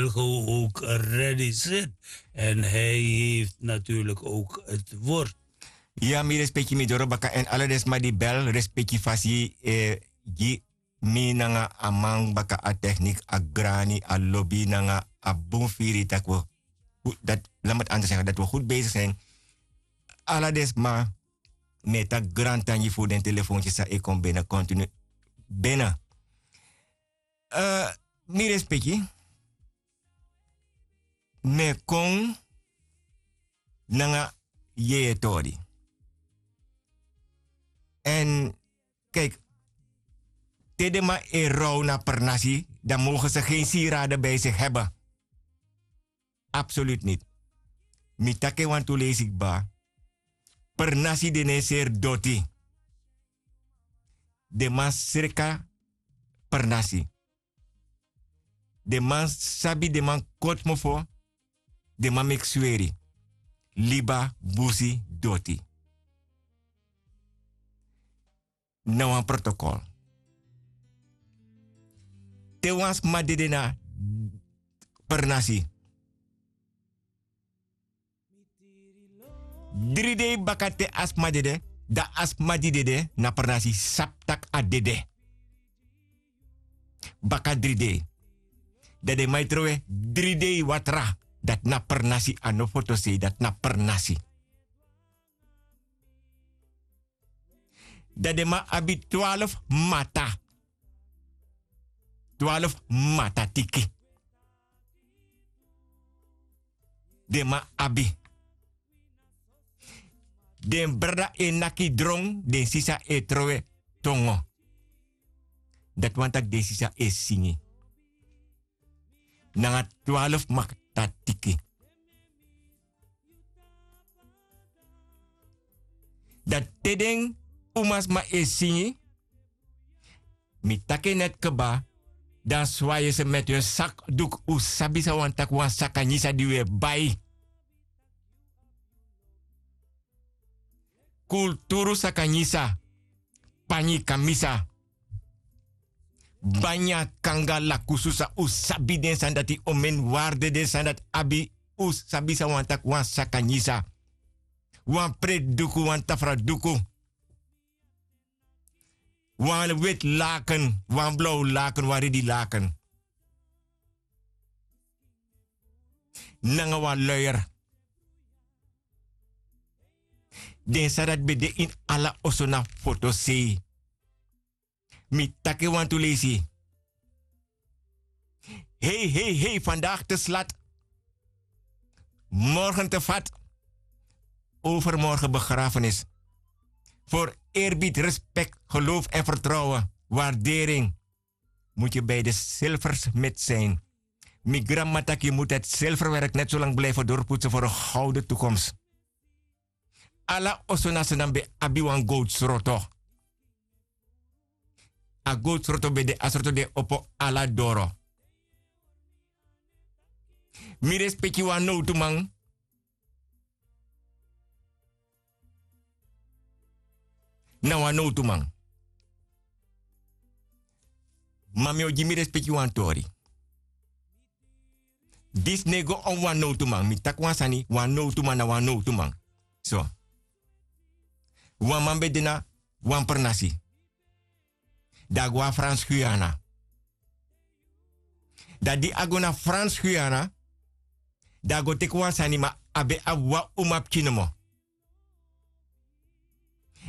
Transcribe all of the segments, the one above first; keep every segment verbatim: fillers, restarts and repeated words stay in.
Wilgo ook ready zit. En hij heeft natuurlijk ook het woord. Ya, mi respeki mi doro baka en ala den sma di bel, respeki fasi, eh, gi mi nanga a man baka a techniek, a grani, a lobi nanga a bun firi tak' we, dat, laat me het anders zeggen, dat we goed bezig zijn. Ala den sma, mi e taki grantangi fu den telefoontjes san e kon bene continu bene. Eh, mi respeki. Mi e kon nanga yeye tori. En kijk, te den man e rouw na pernasi, dan mogen ze geen sieraden bij zich hebben. Absoluut niet. Mi taki en wantu leisi kba. Pernasi de no e seri doti. Den man sreka pernasi. Den man sabi, den man koti mofo, den man meki sweri. Liba, busi, doti. Na wan protokol. Te wan sma dede na pernasi. Dri dei baka te a sma dede, dan a sma di dede na pernasi sabi tak' a dede. Baka dri dei. Dan den man e trowe dri dei watra. Dati na pernasi, a no fotosei, dati na pernasi. Dan den man abi twaalf mata. Twaalf mata tiki. Den man abi. Den brada e naki dron, den sisa e trowe tongo. Dati wani taki den sisa e singi. Nanga twaalf mata tiki. Dan te den umasma e singi, mi taki en net kba, dan swaye se met un sakduku, un sabi san wani taki wan sakanyisa di un e bai. Kulturu sakanyisa, panyi kamisa. Banya kanga lakusu san un sabi den sani dati, omen waarde den sani dati abi, un sabi san wani taki wan sakanyisa. Wan preti duku, wan tafra duku. Wan weti laken, wan blaw laken, wan redi laken. Nanga wan luier. Den sani dati ben de ini ala oso na fotosei. Mi taki en wantu leisi. Hei, hei, hei, vandaag te slat. Morgen te fat. Overmorgen begrafenis. Voor eerbied, respect, geloof en vertrouwen, waardering, moet je bij de zilversmid zijn. Mi granmama taki yu moet het zilverwerk net zo lang blijven doorpoetsen voor een gouden toekomst. Ala oso na Sranan ben abi wan gowtu sroto. A gowtu sroto ben de, a sroto de opo ala doro. Mi respeki wan nowtuman. Na wan nowtuman. Ma mi o gi mi respeki wan tori. Disi no e go on wan nowtuman. Mi taki wan sani, wan nowtuman na wan nowtuman. So. Wan man ben de na wan pernasi. Dan a go na Frans Guyana. Dan di a go na Frans Guyana, dan a go teki wan sani, ma a ben abi wan umapikin nomo.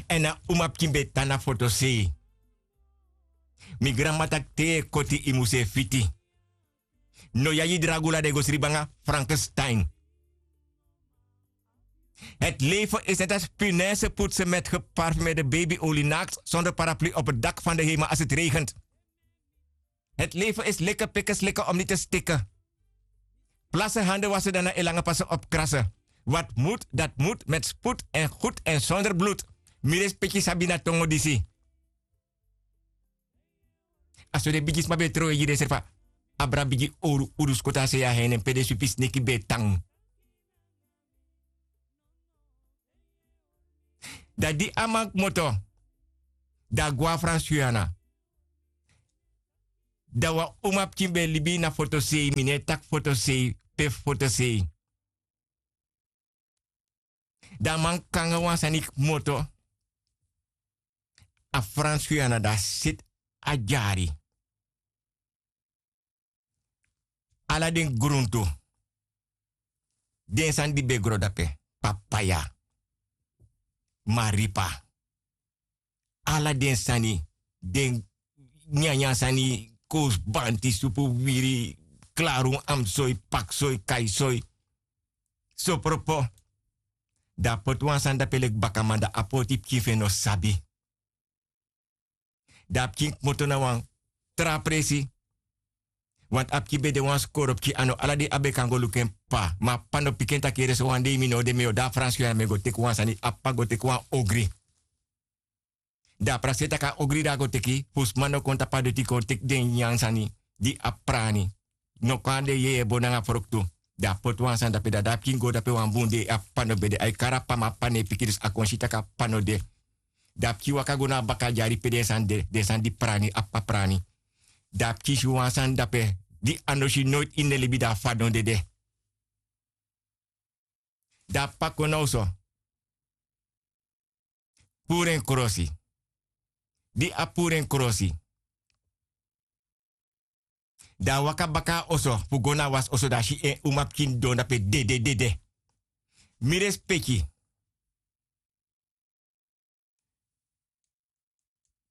Èn a umapikin ben tan na fotosei. Mi granmama taki te yu e koti, yu musu e fiti. No yeye dragula, dan yu go sribi nanga Frankenstein. Het leven is net als punaise poetsen met geparfumeerde babyolie, naakt, zonder paraplu, op het dak van de hemel als het regent. Het leven is likken, pikken, slikken om niet te stikken. Plassen, handen wassen, daarna in lange passen opkrassen. Wat moet, dat moet, met spoed en goed en zonder bloed. Mi respeki sabi na tongo disi. A so den bigisma ben e trowe gi densrefi. Abra bigi owru, owru skotu a sei a heinen pe den swipi sneki ben e tan. Dan di a man kmoto, dan a go na Frans Guyana. Dan wan umapikin ben e libi na fotosei, mi no e taki fotosei pe fu fotosei. Dan a man kon nanga wan sani kmoto. A franskuyana, dan a seti a dyari. Ala den gruntu, den sani di ben e gro dape, papaya, maripa, ala den sani, den nyanyan sani, kousbanti, supu wiri, klarun, amsoi, paksoi, kaisoi, sopropo. Dan a poti wan sani dape leki bakaman, dan a poti pikin fu en no sabi. Dan a pikin kmoto na wan tra presi. Want a pikin ben de wan skoro pikin, a no ala dei a ben kan go luku en p'pa. Ma a p'pa no piki en taki yere, sowan dei mi no o de, mi o de a franskuyana, mi e go teki wan sani. A p'pa go teki wan ogri. Dan a prakseri taki a ogri di a go teki, fu sma no kon tapu a doti kon teki den nyanyan sani di abi prani. No kon na den yeye bon nanga froktu. Dan a poti wan sani dape, dan a pikin go dape wan bun dei, a p'pa no ben de. A e kari a p'pa, ma a p'pa no e piki, dus a kon si taki a p'pa no de. Dan a pikin waka go na a baka dyari pe den sani de, den sani di prani, a p'pa prani. Dan a pikin si wan sani dape di a no si noiti ini en libi, dan a fadon dede. Dan a p'pa kon na oso, puru en krosi. Di a puru en krosi, dan a waka baka na oso fu go na a wasi oso, dan a si en umapikin didon dape dede, dede. Mi respeki.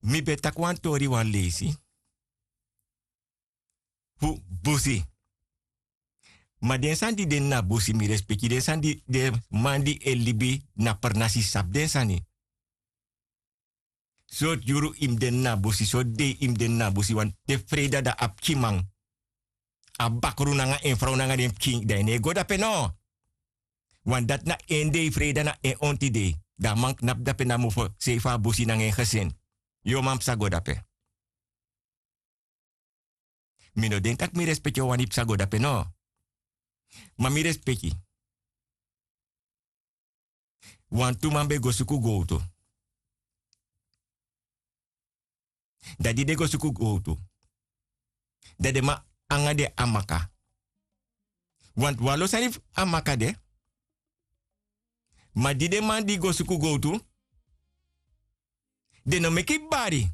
Mi ben taki wan tori wan leisi fu busi. Ma den sani di de na busi, mi respeki, den sani di den man di e libi na pernasi sabi den sani. Sortu yuru yu mus de na busi, sortu dei yu mus de na busi, want te freida, dan a pikinman, a bakru nanga en frow nanga den pikin, dan yu no e go dape no. Want dati na en dei freida, na en onti dei. Dan a man knapu dape na mofo sei fu a busi nanga en gesin. Yu o man psa go dape. Mi no denki tak' mi respeki o wani psa go dape no. Ma mi respeki. Wantu man ben go suku gowtu. Dan di den go suku gowtu, dan den man anga den amaka. Want wan lo sani fu amaka de. Ma di den man di go suku gowtu, den no meki bari.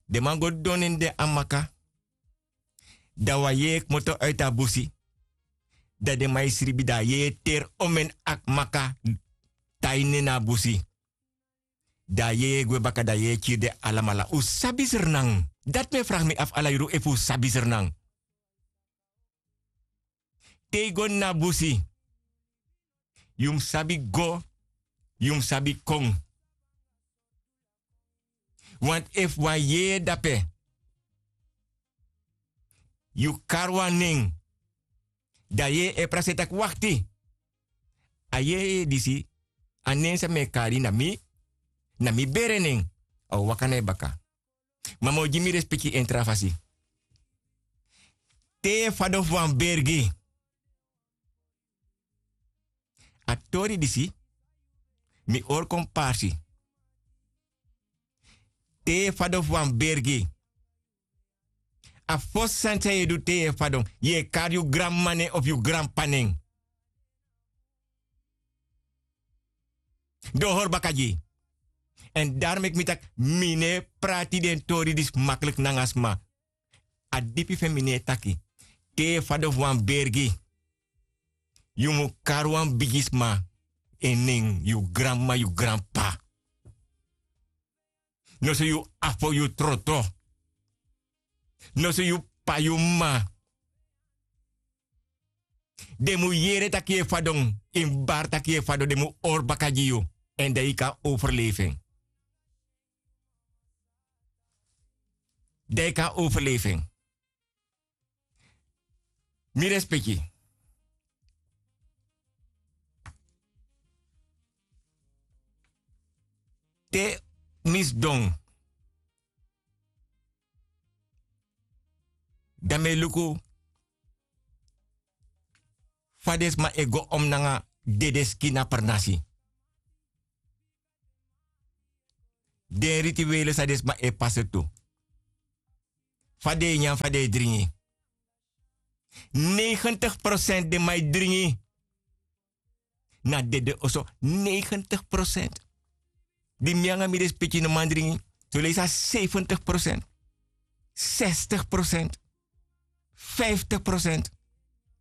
Den man go didon na den amaka. Dan wan yeye kmoto uiti a busi. Dan den man e sribi, dan a yeye teri omeni amaka, tai nen na a busi. Dan a yeye gwe baka, dan a yeye kiri den alamala. Un sabi srnan? Dati mi e fragi mi afu ala yuru, efu un sabi srnan. Te yu go na busi, yu mus sabi go, yu mus sabi kon. Want efu wan yeye dape, yu kari wan nen, dan a yeye e prakseri taki: "Wakti, a yeye disi, a nen san mi e kari na mi, na mi bere nen." A o waka na yu baka. Ma mi o gi mi respeki ini tra fasi. Te yu e fadon fu wan bergi. A tori disi mi hori kon parsi. Te yu e fadon fu wan bergi, a fosi sani san yu e du te yu e fadon, yu e kari yu granmama nen of yu granp'pa nen. Den o hori baka gi yu. Èn daro meki mi taki mi no e prati den tori disi makliki nanga sma. A dipi fu en mi no e taki. Te yu e fadon fu wan bergi, yu mu kari wan bigisma en nen, yu granmama, yu granp'pa. Noso yu afo, yu troto. Noso yu p'pa, yu m'ma. Den mu yere taki yu e fadon, yu mus bari taki yu e fadon, den mu hori baka gi yu. Èn dan yu kan overlefi en. Dan yu kan overlefi en. Mi respeki. Te mi sidon, dan mi e luku fa den sma e go om nanga dede skin na pernasi. Den rituele san den sma e pasa tu. Fa den e nyan, fa den e dringi. Negentig prosent den man e dringi. Na dede oso, negentig prosent. Di mi nanga mi respeki no man dringi, so leisi a zeventig prosent, zestig prosent, vijftig prosent.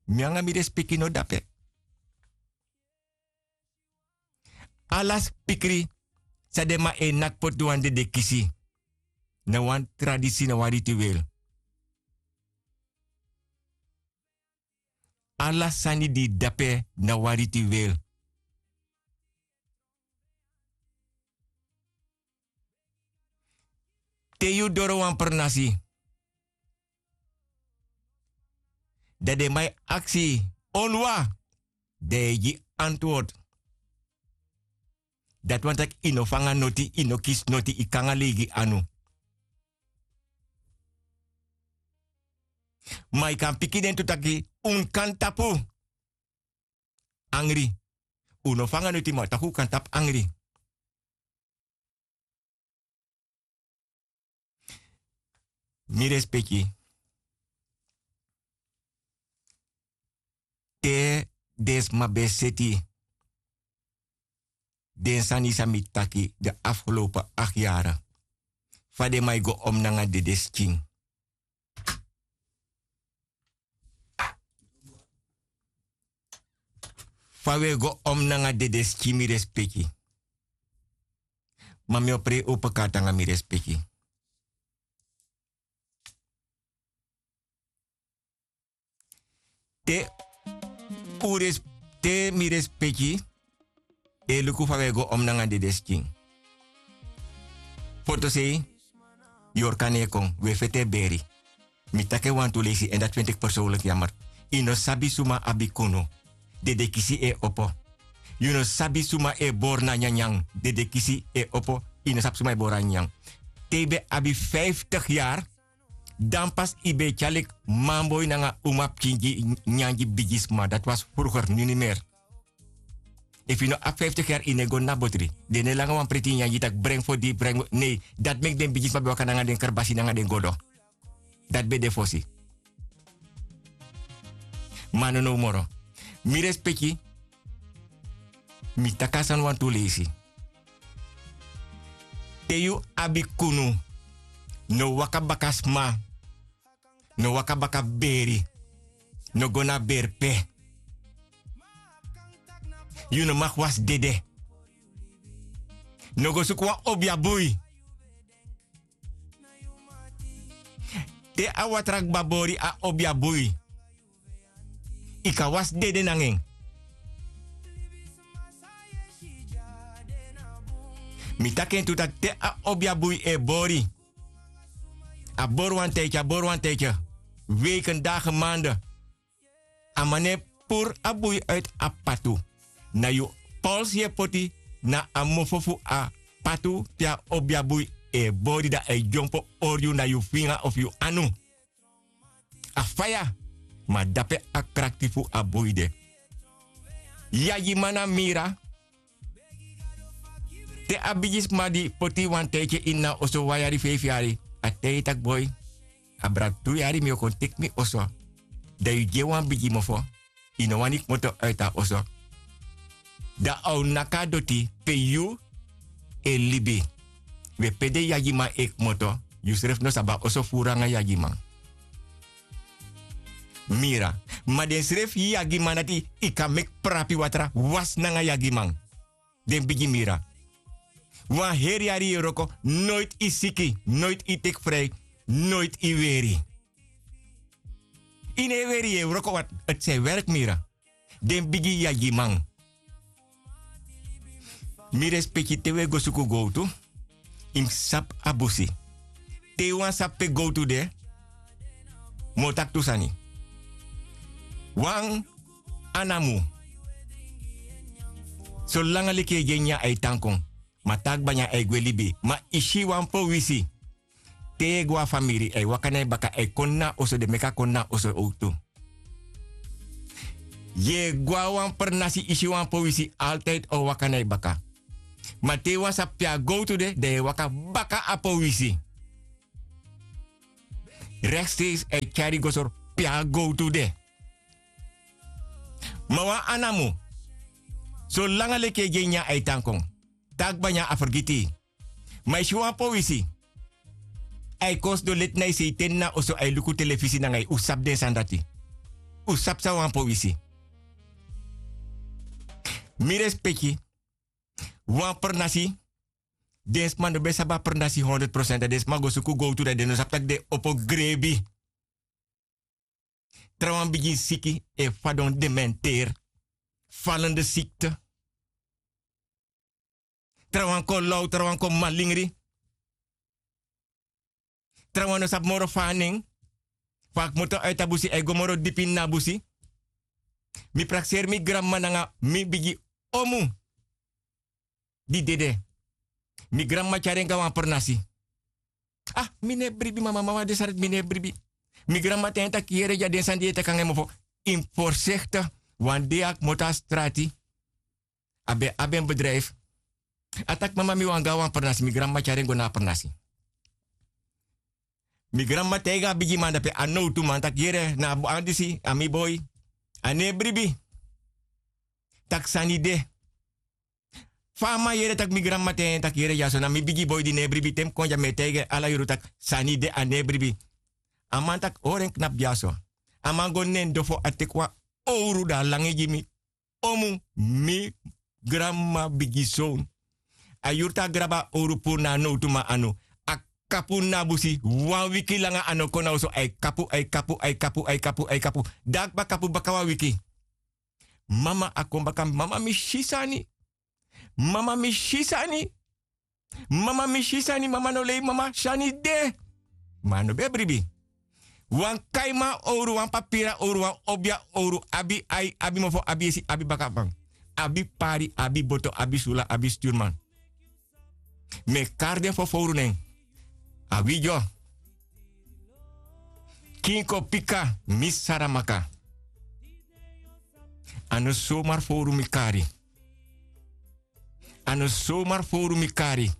Mi nanga mi respeki no dape. Ala spikri san den man e naki poti wan dede kisi, na wan tradisi, na wan rituel. Ala sani di dape na wan rituel. Te yu doro wan pernasi, dan den man e aksi, onwa, dan yu e gi antwoord. Dati wani taki yu no fanga noti, yu no kisi noti, yu kon nanga leigi anu. Ma yu kan piki den tu taki un kan tapu angri. Un no fanga noti, ma taki un kan tapu angri. Mi respeki. Te den sma ben seti den sani san mi taki de afgelopen acht yari. Fa den man e go om nanga dede skin. Fa wi e go om nanga dede skin, mi respeki. Ma mi o prei open kaart nanga mi respeki. Te un res-, te mi respeki e luku fa wi e go om nanga dede skin. Fotosei, yorka no e kon, wi e feti e beri. Mi taki en wantu leisi, èn dati feni teki persoonlijk jammer. Yu no sabi suma abi kunu. Dede kisi e opo. Yu no sabi suma e bori na nyanyan. Dede kisi e opo. Yu no sabi suma e bori na nyanyan. Te yu ben abi vijftig yari, dan pas yu ben e tyari leki manboi nanga umapikin gi nyanyan gi bigisma. Dati was vroeger, nu niet meer. Efu yu no abi vijftig yari, yu no e go na botri. Den no e langa wan preti nyanyan gi taki breng fu di, breng. Nee, dati meki den bigisma ben waka nanga den kerbasi nanga den godo. Dati ben de fosi. Ma a no now moro. Mi respeki, mi taki a sani wantu leisi. Te yu abi kunu, no waka baka sma, no waka baka beri, no go na beri pe. Yu no mag wasi dede. No go suku wan obia bui. Te a watra kba bori a obia bui, yu kan wasi dede nanga en. Mi taki en tu taki te a obia bui e bori, a bori wan tijdje, a bori wan tijdje, weken, dagen, maanden. A man no e puru a bui uit a patu. Na yu pols yu e poti na a mofo fu a patu pe a obia bui e bori, dan a e dyompo hori yu na yu finga of yu anu. A faya, ma dape a krakti fu a bui de. Yagiman na mira. Te a bigisma di poti wan tijdje ini a oso, wan yari, feifi yari, a taigi yu taki boi, abra tu yari mi o kon teki mi oso. Dan yu gi en wan bigi mofo, yu no wani kmoto uit a oso. Dan a o naki a doti pe yu e libi. We pe den yagiman e kmoto, yusrefi no sabi a oso furu nanga yagiman. Mira, ma densrefi yagiman dati, yu kan meki prapi watra wasi nanga yagiman. Den bigi mira. Wan heri yari yu e wroko, noiti yu siki, noiti yu teki frij, noiti yu weri. Yu no e weri, yu e wroko, want het zijn werk, mira. Den bigi yagiman. Mi respeki, te wi e go suku gowtu, yu mus sabi a busi. Te yu wani sabi pe gowtu de, mi o taki tu sani. Wan anamu, solanga leki yu e gi en nyanyan, a e tan kon. Ma te a kba nyanyan, a e gwe libi. Ma yu si wan powisi, te yu e go a famiri, a e waka na yu baka, a e kon na oso, den meki a kon na oso owktu. Yu e go a wan pernasi, yu si wan powisi, altijd a o waka na yu baka. Ma te yu wani sabi pe a gowtu de, dan yu e waka baka a powisi. Reksteis a e tyari yu go sori pe a gowtu de. Ma wan anamo, solanga leki e gi en nyan a e tan kon, te a kba nyan a fergiti yu. Ma yu si wan powisi, a e kon sidon leti na yu sei te na oso a e luku telefisi nanga yu. Un sabi den sani dati. Un sabi san wan powisi. Mi respeki. Wan pernasi. Den sma no ben sabi a pernasi honderd prosent, dan den sma go suku gowtu, dan den no sabi tak' den opo grebi. Trawan bigin siki e fadon dementeer. Falende sikte. Trawan kon law, trawan kon malingri. Trawan no sabi moro fa a nen. Fa a kmoto a e tabusi a e go moro dipi ini a busi. Mi prakseri mi granmama nanga mi bigi omu di dede. Mi granmama tyari en go na wan pernasi. Ah, mi no e bribi mama, mama de sari, mi no e bribi. Mi granmama taigi en taki yere, dya den sani di yu e taki nanga en mofo, yu mus forsekte. Wan dei a kmoto na strati. A ben abi en bedrijfi. A taki mama mi wani go na wan pernasi, mi granmama tyari en go na a pernasi. Mi granmama taigi a bigiman dape, a nowtuman, taki yere, na a boi disi a mi boi. A no e bribi. Tak' sani de. Fa a man yere tak' mi granmama taigi en taki yere, dyaso na mi bigi boi di no e bribi, te mi kon dya mi e taigi en ala yuru tak' sani de, a no e bribi. A man taki hori en knapu dyaso. A man go na en dofo, a teki wan owru, dan a langa en gi mi. Omu, mi granmama bigi son. A yuru tan a grabu a owru puru na a nowtuman anu. A kapu na busi wan wiki langa, a no kon na oso, a e kapu, a e kapu, a e kapu, a e kapu, a e kapu. Dan a kba kapu baka wan wiki. Mama, a kon baka, mama mi si sani. Mama mi si sani. Mama mi si sani, mama no lei, mama sani de. Ma a no ben bribi. Wan kaiman owru, wan papira owru, wan obia owru, abi ai, abi mofo, abi esi, abi bakaman. Abi pari, abi boto, abi sula, abi sturman. Mi e kari den fofowru nen. A widyo. Kinko pika, mi saramaka. A no somar fowru mi kari. A no somar fowru mi kari.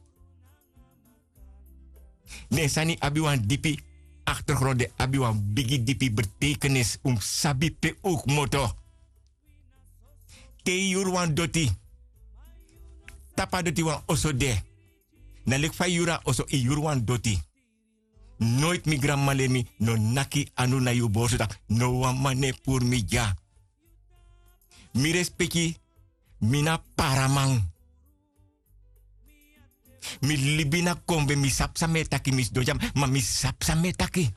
Den sani abi wan dipi achtergrond, den abi wan bigi dipi betekenis. Un mus sabi pe un kmoto. Te yu yuru wan doti, tapu a doti wan oso de. Na leki fa yu yuru a oso, yu yuru wan doti. Noiti mi granmama leri mi, no naki anu na yu borsu taki no wan man no e puru mi dya. Mi respeki, mi na paraman. Mi libi na kombe, mi sabi san mi e taki, mi sidon dya, ma mi sabi san mi e taki.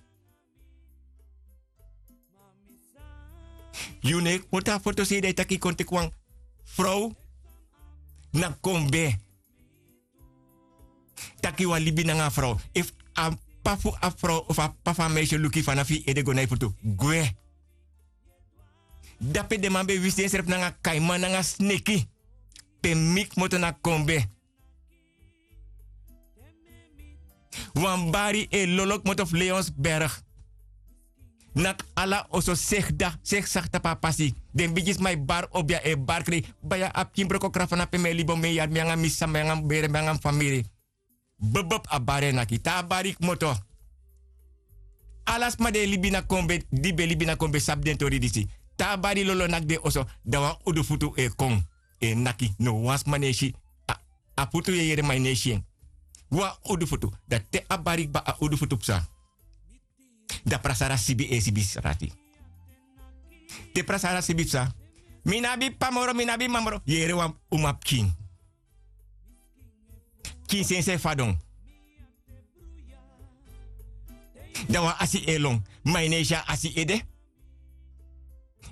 Yu no e poti a foto sei dan yu taki yu kon teki wan frow na kombe. Taki yu wani libi nanga a frow. Efu a p'pa fu a frow of a p'pa fu a meisyo luku yu fanafu yu ede go na yu futu, gwe. Dape den man ben wisi densrefi nanga kaiman nanga sneki. Pe mi kmoto na kombe. Wan bari e lolo kmoto fu Leonsberg. Naki ala oso segi dati, segi saki tapu a pasi. Den bigisma e bari obia, e bari krei. Baya, a pikin broko kra fana pe mi e libi, mi e yari, mi nanga mi sisa, mi nanga mi bere, mi nanga mi famiri. Bebeb, a bari e naki. Te a bari kmoto. Ala sma di e libi na kombe, di ben libi na kombe sabi den tori disi. Te a bari lolo naki den oso, dan wan udu futu e kon. E naki, no wan sma no e si. A, a futu yu e yere ma yu no e si en. Wan udu futu. Dan te a bari kba, a udu futu psa. Dan Prasara sibi e sibi srati. Te Prasara sibi psa. Mi no abi p'pa moro, mi no abi m'ma moro. Yere wan umapikin. Pikin sensi e fadon. Dan wan asi e lon. Ma yu no e si a asi ede.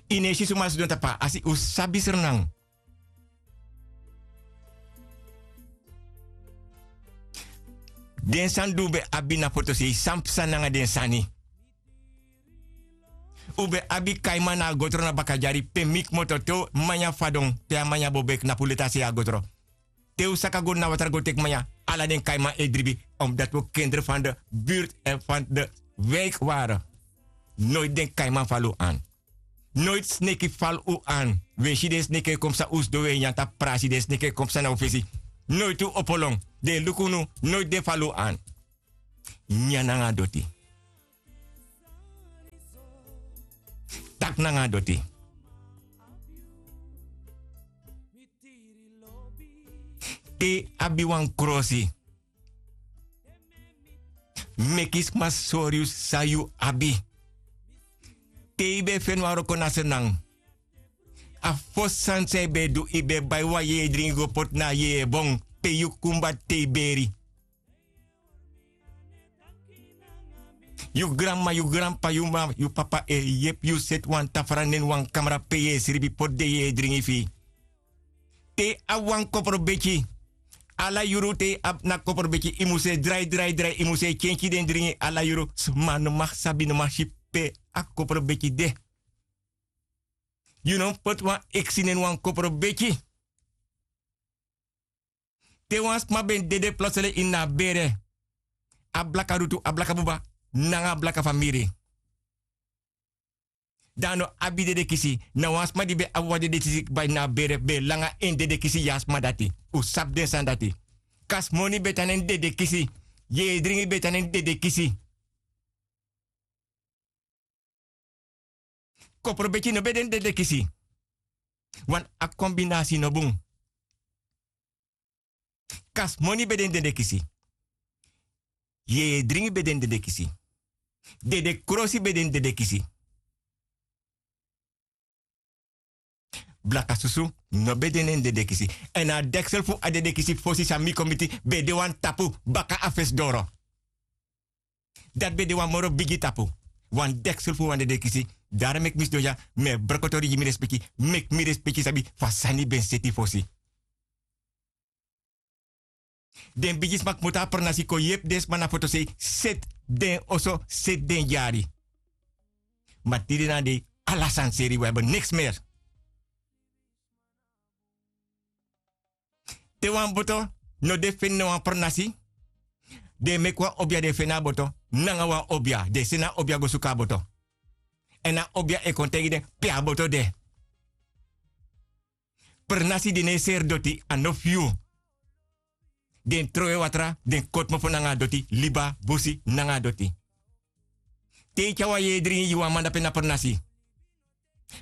Yu no e si suma sidon tapu a asi, un sabi Sranan. Den sani di un ben abi na fotosei, san psa nanga den sani. Un ben abi kaiman na Agotro na Bakadyari, pe mi kmoto, te un manya fadon, pe a manya bobo e knapu leti a sei Agotro. Te un saka go na watra go teki manya, ala den kaiman e dribi, omdat we kinderen van de buurt en van de wijk waren. Nooit den kaiman fali un aan. Nooit sneki fali un aan. We si den sneki e kon psa, un sidon we nyan tapu prasi, den sneki e kon psa na un fesi. Noiti un opo lon. Den e luku unu. Noiti den e fali un an. Nyan nanga a doti. Taki nanga a doti. Te yu abi wan krosi, meki sma sori yu san yu abi. Te yu ben e feni wan wroko na Sranan, a fosi sani san yu ben e du, yu ben e bai wan yeye dringi go poti na a yeye bon pe yu kumba te yu beri. Yu granma, yu granpa, yu ma, yu papa e yepi yu seti wan tafra neni wan kamra pe yu e sribi poti den yeye dringi fu yu. Te yu abi wan koprobeki, ala yuru te yu abi na koprobeki, yu mus e drai, drai, drai, yu mus e kenki den dringi ala yuru. Sma no man sabi, no man si pe a koprobeki de. Yu no mus poti wan eksi neni wan koprobeki. Te wan sma ben dede plotseling ini a bere, a blaka dutu, a blaka buba, nanga a blaka famiri. Dan a no abi dedekisi. Na wan sma di ben abi wan dedekisi kba ini a bere ben e langa en dedekisi gi a sma dati. Un sabi den sani dati. Kasmoni ben tan neni dedekisi. Yeye dringi ben tan neni dedekisi. Koprobeki no ben de ini dedekisi. Wan a kombinasi no bun. Kasmoni ben de ini dedekisi. Yeye dringi ben de ini dedekisi. Dede krosi ben de ini dedekisi. Blaka susu no ben de ini dedekisi. Èn a deksel fu a dedekisi fosi san mi kon miti ben de wan tapu baka a fesi doro. Dati ben de wan moro bigi tapu. Wan deksel fu wan dedekisi. Daro meki mi sidon dya, mi e brokotori gi mi respeki, meki mi respeki sabi fa sani ben seti fosi. Den bigisma kmoto a pernasi kon yepi den sma na fotosei, seti den oso, seti den dyari. Ma tide na a dei ala sani seri, wi abi niks meri. Te wan boto no de feni na wan pernasi, den e meki wan obia, den e feni a boto nanga wan obia, den e seni a obia go suku a boto. Èn a obia e kon taigi den pe a boto de. Pernasi di no e seri doti, a no fu yu. Den trowe watra, den koti mofo nanga a doti, liba, busi nanga a doti. Te yu tyari wan yeye dringi gi wan man dape na pernasi,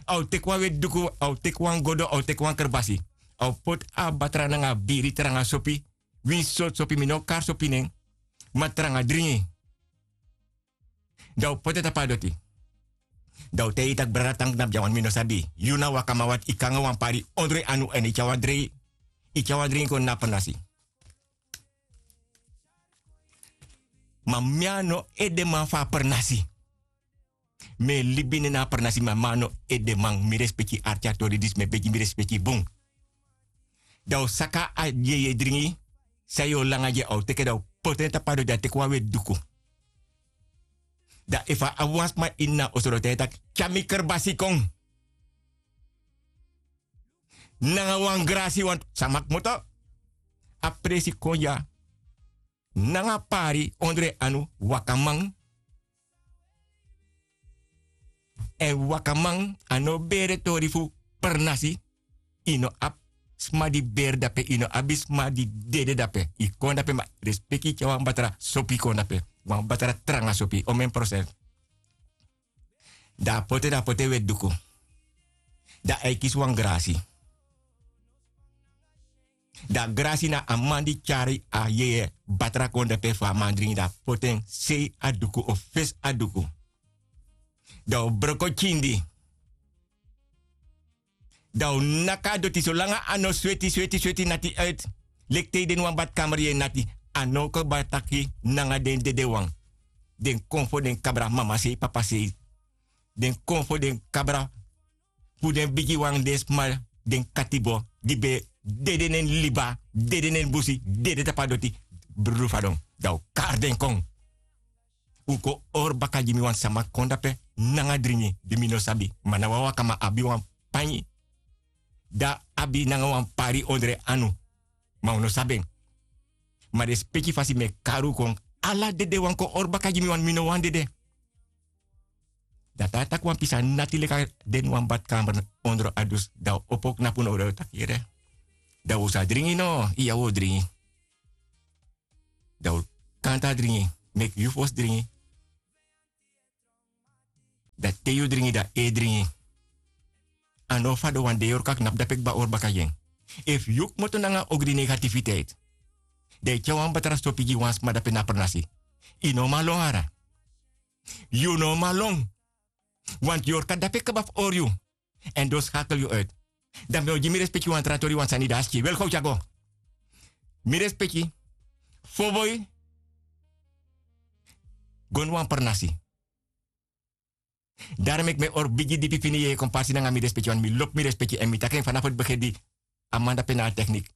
a o teki wan weti duku, a o teki wan godo, a o teki wan kerbasi. A o poti a batra nanga a biri tranga sopi. Winsi sortu sopi, mi no o kari sopi nen, ma tranga dringi. Dan a o poti en tapu a doti. Dan a o taigi yu tak' brada, tan knapu dya, want mi no sabi. Yu na wakaman, want yu kon nanga wan pari ondro yu anu èn yu tyari wan dringi, yu tyari wan dringi kon na pernasi. Ma mi a no edeman fu a pernasi. Mi e libi nen na a pernasi, ma mi a no edeman. Mi respeki arki a tori disi, mi e begi mi respeki bun. Dan a o saka a yeye dringi san yu o langa gi en, a o teki en, dan a o poti en tapu a doti, a teki wan weti duku. Dan efu a abi wan sma ini a oso, dan a o taigi en taki: Tyari mi kerbasi kon nanga wan grasi, want sama kmoto. A presi kon dya nanga pari ondro en anu, wakaman. Èn wakaman a no bere tori fu pernasi. Yu no abi sma di bere dape, yu no abi sma di dede dape. Yu kon dape, ma respeki, yu tyari wan batra sopi kon dape. Wan batra tranga sopi, omen prosent. Dan a poti en, dan a poti en weti duku. Dan a e kisi wan grasi. Dan a grasi na a man di tyari a yeye batra kon dape fu a man dringi, dan a poti en sei a duku of fesi a duku. Dan a o broko kindi. Dan a o naki a doti solanga a no sweti, sweti, sweti, nati uit. Leki te yu de ini wan badkamer, yu e nati. A no kaba taki nanga den dedewan. Den konfo, den kabra, mama sei, papa sei. Den konfo, den kabra fu den bigiwan, den sma, den katibo di ben dede neni liba, dede neni busi, dede tapu a doti, brudu fadon. Dan a o kari den kon. Un kon hori baka gi mi, wan sama kon dape nanga dringi di mi no sabi. Ma na wan wakaman, a abi wan panyi. Dan a abi nanga wan pari ondro en anu. Ma un no sabi en. Ma den speki fasi mi e kari un kon. Ala dedewan kon hori baka gi mi, want mi no wani dede. Dan te a taki wan pisi, a nati leki a de ini wan badkamer ondro a dus. Dan a o opo knapu na ondro, taki: Yere, Dan un sa dringi no, iya un o dringi. Dan un kanta dringi, meki yu fosi dringi. Dan te yu dringi dan e dringi. A no fadon wan dei yorka knapu dape kba ori baka gi en. Efu yu kmoto nanga ogri negatifiteit, dan yu tyari wan batra sopi gi wan sma dape na pernasi. Yu no man lon ara. Yu no man lon. Wantu yorka dape kba fu ori yu. Èn don skakel yu uit. Dan mi o gi mi respeki wan tra tori wan sani dan a skin welgow tyago. Mi respeki. Foboi. Go na wan pernasi. Daro meki mi e hori bigi dipi fini yeye kon pasi nanga mi respeki wan mi lobi mi respeki èn mi taki en fanafu di begin di a man dape na a teknik.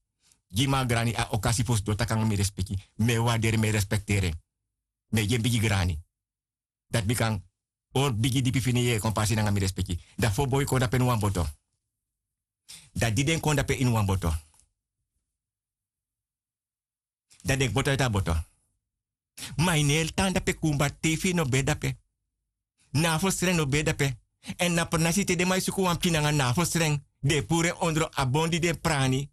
Gi mi a grani a okasi fu sidon taki nanga mi respeki. Mi e warderi mi e respekteri en. Mi e gi en bigi grani. Dati mi kan hori bigi dipi fini yeye kon pasi nanga mi respeki. Dan fo boi kon dape ini wan boto. Dan di den kon dape ini wan boto, dan den kmoto eti a boto. Ma yu no e tan dape kumba tei fu yu no ben dape. Nafel stren no ben dape. Èn na pernasi te den man e suku wan pikin nanga nafel stren, den e puru en ondro a bon di den prani.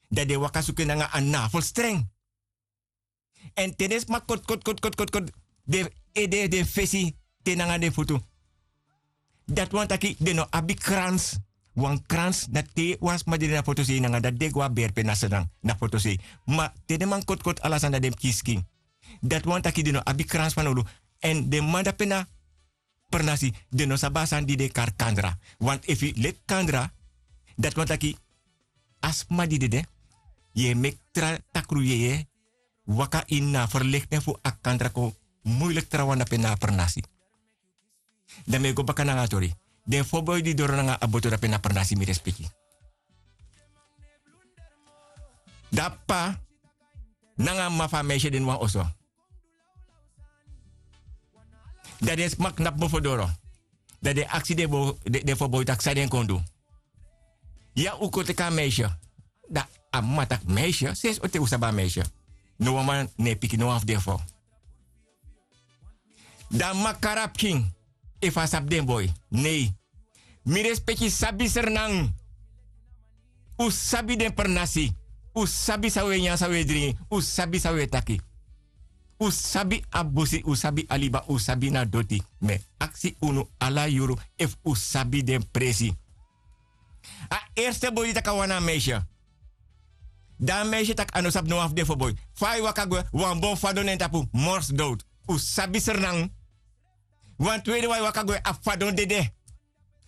Dan den e waka suku en nanga a nafel stren. Èn te den sma koti koti koti koti koti koti den ede den fesi te nanga den futu. Dati wani taki den no abi krans. Wan krans na te wan sma dede na fotosei nanga dati den go a berpe na sedan na fotosei. Ma te den man koti koti ala sani dan den pikin skin. Dati wani taki den no abi krans fanowdu. Èn den man dape na pernasi den no sabi a sani di den e kari kandra. Wantu efu yu leki kandra, dati wani taki a sma di dede, yu e meki tra takru yeye waka ini na a ferlekten fu a kandra kon muiliki trawan dape na a pernasi. Dan mi e go baka nanga a tori. Den fo boi di doro nanga a boto dape na pernasi mi respeki. Dan p'pa nanga a m'ma fu a meisye de ini wan oso. Dan den sma knapu mofo doro. Dan den aksi den fo boi taki san den kon du. Ya un kon teki a meisye. Dan a m'ma taki meisye sensi o te un sabi a meisye. No wan man no e piki no wan fu den fo. Dan m'ma kari a pikin efu a sabi den boi. Nei. Mi respeki sabi srnan. Un sabi den pernasi. Un sabi san un e nyan san un e dringi. Un sabi san un e taki. Un sabi a busi un sabi a liba un sabi na doti. Mi e aksi unu ala yuru efu un sabi den presi. A erste boi di taki a wan na a meisye. Dan a meisye taki a no sabi no wan fu den fo boi. Fa a e waka gwe wan bon fadon na en tapu morsi dowtu. Un sabi srnan. Wan twede wan e waka gwe a fadon dede.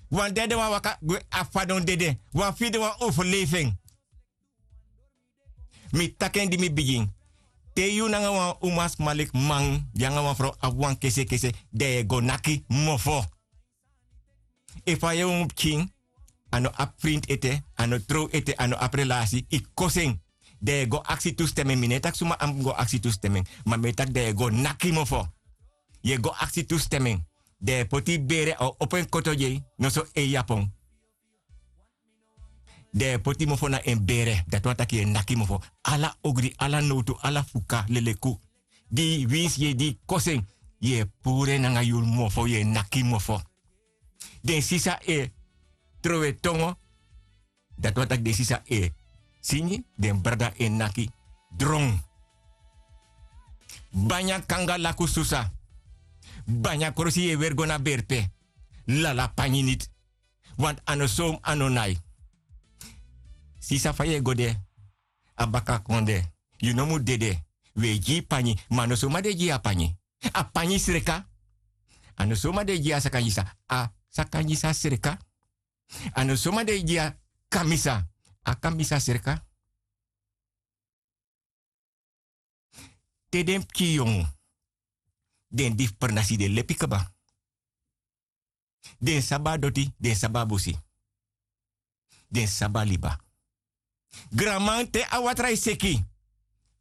Wan dede wan waka gwe a fadon dede. Wan fide wan overlefi en. Mi taki en di mi bigin. Te yu nanga wan umasma leki man di nanga wan frow abi wan kesekese, dan yu e go naki mofo. Efu a yongu pikin a no abi frinti ete, a no trow ete, a no abi relasi, yu kosi en. Dan yu e go aksi tustemen mi no e taki suma a mus go aksi tustemen. Ma mi e taki dan yu e go naki mofo. Yu e go aksi tustemen. Dan yu e poti yu bere a o opo en koto gi en noso en yapon. Dan yu e poti mofo na en bere dati wani taki yu e naki mofo. Ala ogri ala nowtu ala fuka leleku di winsi yu e di yu kosi en. Yu e puru en nanga yu mofo yu e naki mofo. Den sisa e trowe tongo. Dati wani taki den sisa e singi den brada e naki dron. Banya kanga laku susa. Banya krosi yu e weri go na berpe. Lala panyi niti. Wantu a no somu a no nai. Sisa fa yu e go de a baka kon de. Yu no mu dede. Wi e gi yu panyi. Ma a no soma den e gi yu a panyi. A panyi sreka. A no soma den e gi yu a sakanyisa. A sakanyisa sreka. A no soma den e gi yu a kamisa. A kamisa sreka. Te den pikin yongu den di fu pernasi den lepi kaba. Den sabi a doti den sabi a busi. Den sabi a liba. Granman te a watra e seki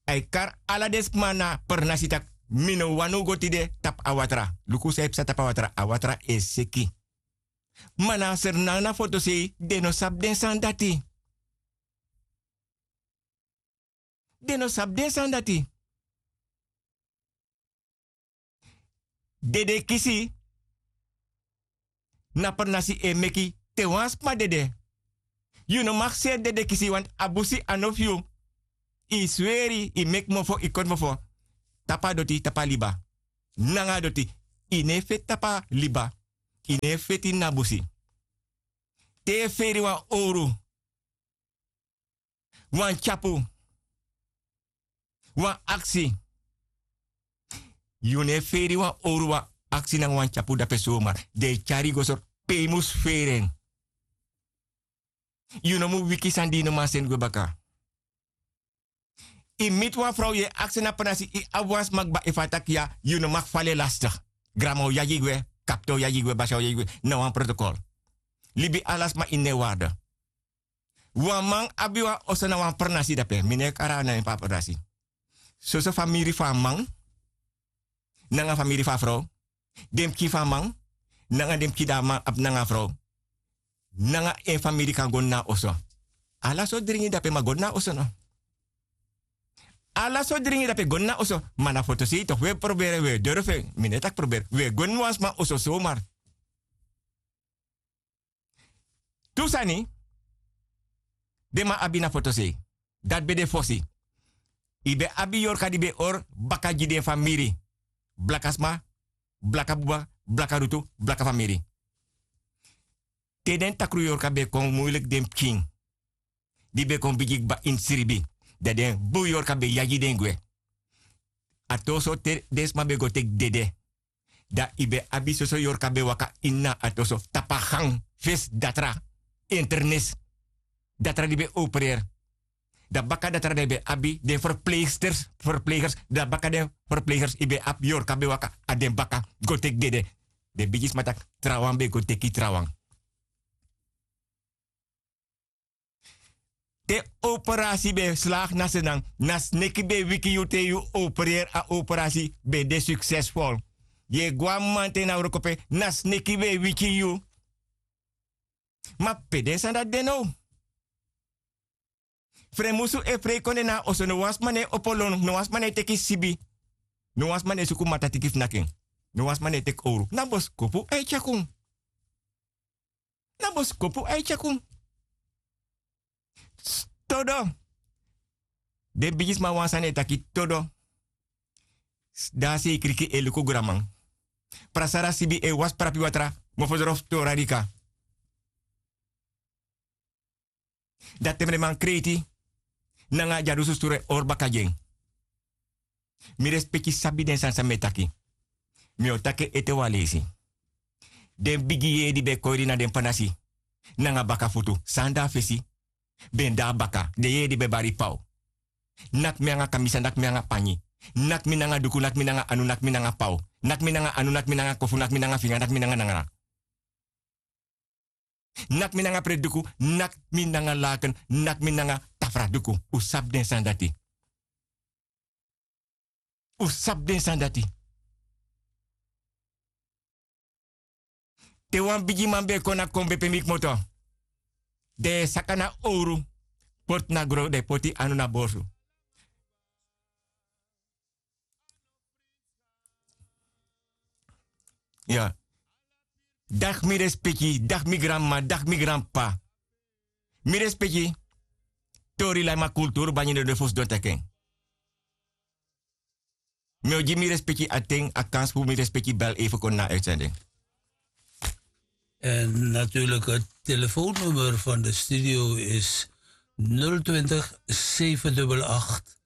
a e kari ala den sma na pernasi tak' mi no wani un go tide tapu a watra. Luku san e psa tapu a watra a watra e seki. Ma na a srnan na fotosei den no sabi den sani dati. Den no sabi den sani dati. Dedekisi na pernasi e meki te wan sma dede. Yu no mag seri dedekisi wantu a busi a no fu yu. Yu sweri, yu meki mofo, yu koti mofo. Tapu a doti tapu a liba. Nanga a doti. Yu no e feti tapu a liba. Yu no e feti ini a busi. Te yu e feri wan owru, wan tyapu, wan aksi. Yu no e feri wan owru, wan aksi nanga wan tyapu dape somar. Den e tyari yu go sori pe yu mus feri en. Yu no mu wiki sani di yu no man seni gwe baka. Yu miti wan frow, yu e aksi na pranasi, yu abi wan sma kba, efu a taki ya, yu no mag fali en lastig. Granma o yagi yu gwe, kapten o yagi yu gwe, basi o yagi yu gwe. Na wan protokol. Libi ala sma ini en warde. Wan man abi wan oso na wan pranasi dape, mi no e kari a nen fu a pranasi. Soso famiri fu a man nanga famiri fu a frow, den pikin fu a man nanga den pikin di a man abi nanga a frow, nanga en famiri kan go ini a oso. Ala sortu dringi dape, ma go ini a oso no. Ala sortu dringi dape, go ini a oso. Ma na fotosei toku wi e proberi, wi e durfu en. Mi no e taki proberi, wi e go ini wan sma oso somar. Tu sani den man abi na fotosei. Dati ben de fosi. Yu ben abi yorka di ben e hori baka gi den famiri. Blaka sma, blaka buba, blaka rutu, blaka famiri. Te den takru yorka ben kon, muiliki den pikin di ben kon bigi kba ini sribi, dan den bun yorka ben yagi den gwe. A toso te den sma ben go teki dede, dan yu ben abi soso yorka ben waka ini a toso tapu a gang, fesi datra, internis, datra di ben opereri. Dan baka datra dan yu ben abi den verpleegsters, verpleegers, dan baka den verpleegers yu ben abi yorka ben waka a den baka go teki dede. Den bigisma taki trawan ben go teki trawan. Te operasi ben slaag na senan, na sneki ben wiki yu te yu opereri, a operasi ben de suksesful. Yu e gwe a mamanten na wrokope, na sneki ben wiki yu. Ma pe den sani dati de now? Fremusu e frei kon de na a oso, no wan sma no e opo lon, no wan sma no e teki sibi, no wan sma no e suku matatiki fu naki en, no wan sma no e teki owru. Na boskopu a e tyakun. Na boskopu a e tyakun. Todo. Den bigisma wan sani e taki todo. Dan a seikriki e luku granman. Prasara sibi e wasi prapi watra, mofodoro fu tora dika. Dan te mi den man kreiti nanga dyadusu sturu e hori baka gi en. Mi respeki sabi den sani san mi e taki. Mi o taki en ete wan leisi. Den bigi yeye di ben e kori na den panasi nanga baka futu, san de a fesi, ben de a baka, den yeye di ben e bari paw. Naki mi nanga kamisa, naki mi nanga panyi, naki mi nanga duku, naki mi nanga anu, naki mi nanga paw, naki mi nanga anu, naki mi nanga kofu, naki mi nanga finga, naki mi nanga nangara. Naki mi nanga preti duku, naki mi nanga laken, naki mi nanga tafra duku. Un sabi den sani dati. Un sabi den sani dati. Te wan bigiman ben e kon na kombe pe mi kmoto, den e saka na owru, poti na gron, den e poti anu na borsu. Ya. Dagi mi respeki, dagi mi granmama, dagi mi granpapa. Mi respeki. Tori lai ma kulturu banyi no de fu sidon teki en. Mi o gi mi respeki a ten, a kansi fu mi respeki bel even kon na uitzending. En natuurlijk, het telefoonnummer van de studio is nul twintig, zeven dubbel acht,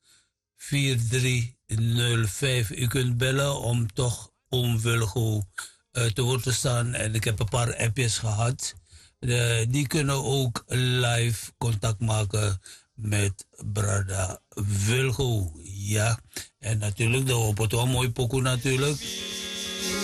vier drie nul vijf. U kunt bellen om toch oom Wilgo, eh, te woord te staan. En ik heb een paar appjes gehad. Eh, die kunnen ook live contact maken met Brada Wilgo. Ja, en natuurlijk de Opoto, een mooi pokoe natuurlijk.